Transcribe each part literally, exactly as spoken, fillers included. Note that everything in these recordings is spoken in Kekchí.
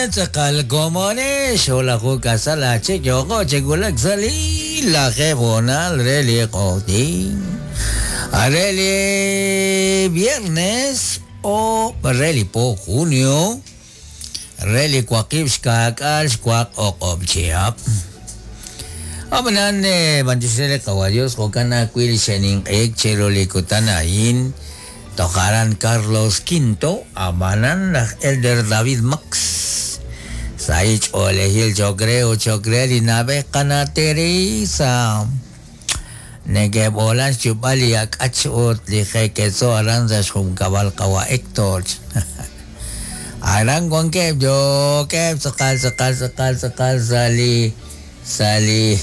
Tz'aqal komonex xolajo kasal achik yoko chegulak sali laje bonal re li q'oqtin are li viernes o re li po junio re li waqib' xka'k'al xwaq o'q'ob' chihab'. Ab'anan b'antioxej qawa Dios jo'kan ajwi' li xe'ninq'ehik chiru li kutan a'in tojaran Carlos Quinto ab'anan laj Elder David Max Saich olejil chokre o chokre li nab'ej qana Teresa nekeb'olan xchub'al li ak'ach ut li je'ketzo aran sa' xjunkab'al qawa Héctor. Aran wankeb' yookeb' tz'aqal tz'aqal tz'aqal tz'aqal sa' li sa' li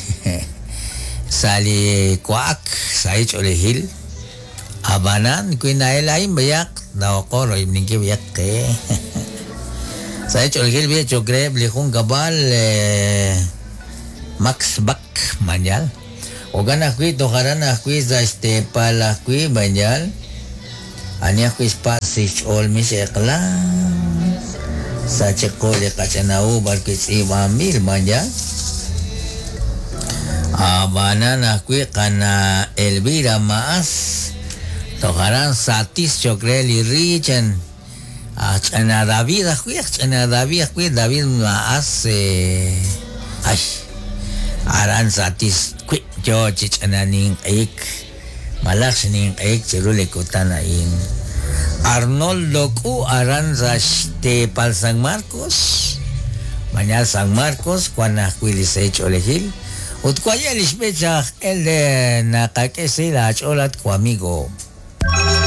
sa' li wa'ak sa' ch'oolejil ab'anan wi na'el a'in b'ayaq naoqo royb'ninkil b'ayaq qe. Sa' ch'oolejil b'e chokre li junkab'al Max Bak mañal jo'kan ajwi' tojaran ajwi' sa' xteepal ajwi' mañal ani ajwi' xpas xch'ool mix eq'la sa' chiqu li qach'ana'u b'arwi' tz'iib'anb'il mañal ab'anan ajwi' qana Elvira Maas tojaran satis chokre li richen ach'ana David ajwi' ach'ana David ajwi' David Maas ay aran satis wi' yo chich'ana ninq'ehik malaj xninq'ehik chiru li kutan a'in Arnoldo Q aran sa' xteepal San Marcos mañal San Marcos wan ajwi' li sech'oolejil ut waya li xb'ech aj el de naqak'e si la ch'ool at ku amigo.